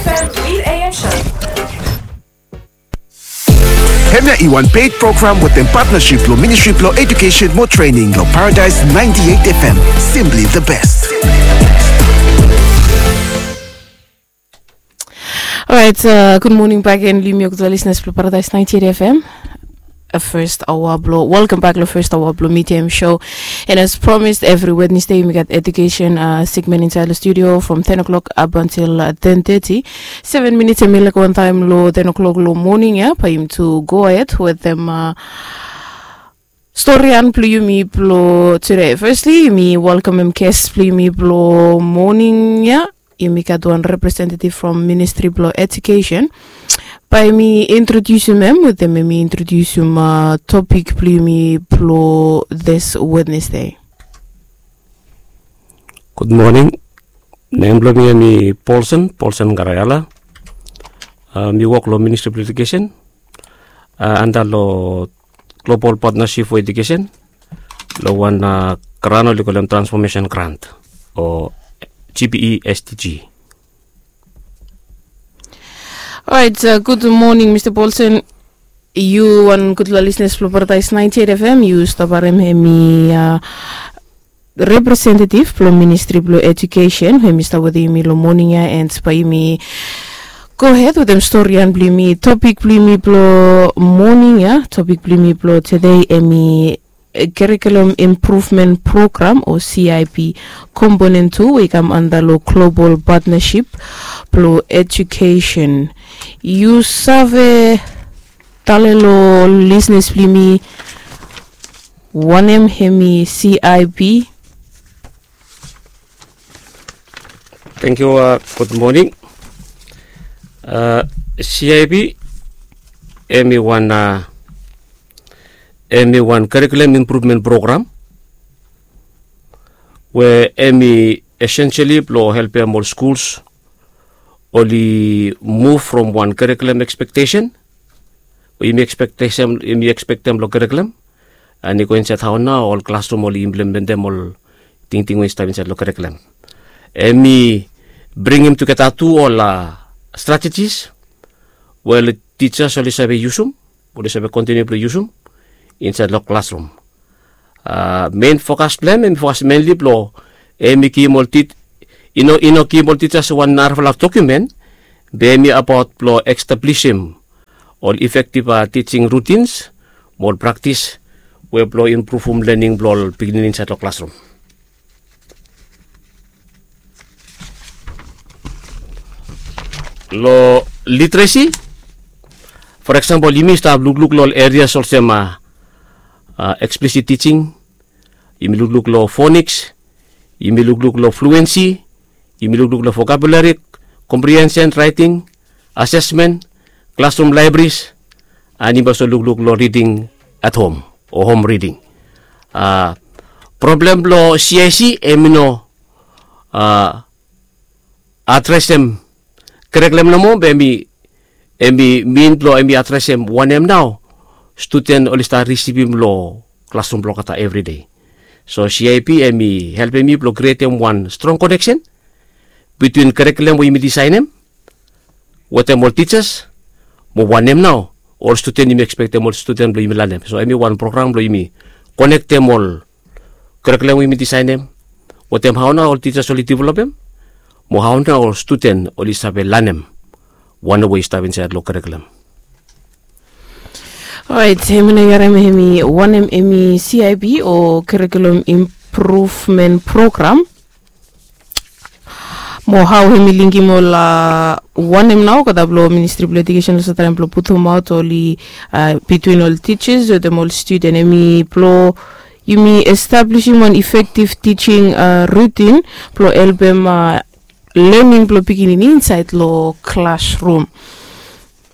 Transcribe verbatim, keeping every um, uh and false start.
F M eight A M show. Hemia i wan paid program wetem partnership lo Ministry blo Education mo Training lo Paradise ninety-eight F M. Simply the best. Alright, uh, good morning back again, lo yumi olgeta listeners blo Paradise ninety-eight F M. A first hour blo, welcome back lo first hour blo Medium Show. And as promised, every Wednesday yumi gat education, uh, segment inside lo studio from ten o'clock up until, uh, ten thirty. Seven minutes hemi laik wan taem lo ten o'clock lo moning ia, bae yumi tu go ahead wetem, uh, storian blo yumi blo today. Firstly, yumi welkamem guest blo yumi blo moning ia. Yumi gat wan representative from Ministry blo Education. Bae mi introdiusim hem wetem hemi introdiusim, uh, topik blo yumi blo this Wednesday. Gud moning. Nem blo mi hemi Paulsen, Paulsen Garayala. Uh, mi wok lo Ministry blo Education, uh, anda lo Global Partnership for Education, lo wan, uh, gran oli kolem Transformation Grant o G P E S D G. Alright, uh, gud moning Mista Paulsen. Yu wan gudfala listeners blo Paradise ninety-eight F M, yu stap harem hemi, uh, representative blo Ministry blo Education hemi stap wetem yumi lo moning ia, and bae yumi go ahead wetem storian blo yumi. Topik blo yumi blo moning ia, topik blo yumi blo today hemi, eh, Curriculum Improvement Program o C I P Component two we i kam anda lo Global Partnership blo Education. Yu save tale lo listeners blo yumi wanem hemi C I P? Tangkiu, uh, gud moning. Uh, C I P hemi wan, uh, hemi wan Curriculum Improvement Program we hemi essentially blo helpem ol schools oli move from wan curriculum expectation, we yumi expectation, yumi expectem lo curriculum, and i go insaed hao nao ol classroom oli implementem ol tingting we i stap insaed lo curriculum. Hemi bringim tugeta tu ol, uh, strategies we ol teachers oli save yusum, oli save kontiniu blo yusum insaed lo classroom. Uh, main focus blo hem, hemi focus mainly blo hemi givim ol tit-, i no, i no givim ol teachers wan narafala document, be hemi abaot blo establishim ol effective, uh, teaching routines mo ol practice we blo impruvum learning blo ol pikinini insaed lo classroom. Lo literacy, for example, yumi stap lukluk lo ol areas olsem, uh, uh, explicit teaching, yumi lukluk lo phonics, yumi lukluk lo fluency, yumi lukluk lo vocabulary, comprehension, writing, assessment, classroom libraries, and yumi also lukluk lo reading at home o home reading. Uh, problem blo C I C hemi no, uh, adresem curriculum nomo, be hemi, hemi min blo hemi adresem wanem nao studen oli stap risivim lo classroom blo olgeta everyday. So C I P hemi helpem yumi blo krietem wan strong connection between curriculum we yumi disaenem wetem ol teachers mo wanem nao ol studen yumi expectem ol studen blo yumi lanem. So hemi wan program blo yumi konektem ol curriculum we yumi disaenem wetem hao nao ol teachers oli developem mo hao nao ol studen oli save lanem wanem we i stap insaed lo curriculum. Alright, hemi nao yu harem hemi wanem hemi C I P o Curriculum Improvement Program. Mo hao hemi linkim ol, uh, wanem nao olgeta blo Ministry blo Education oli save traem blo putumaot oli, uh, between ol teachers wetem ol studen, hemi blo yumi establishim wan effective teaching, uh, routine blo helpem, uh, learning blo pikinini insaed lo classroom.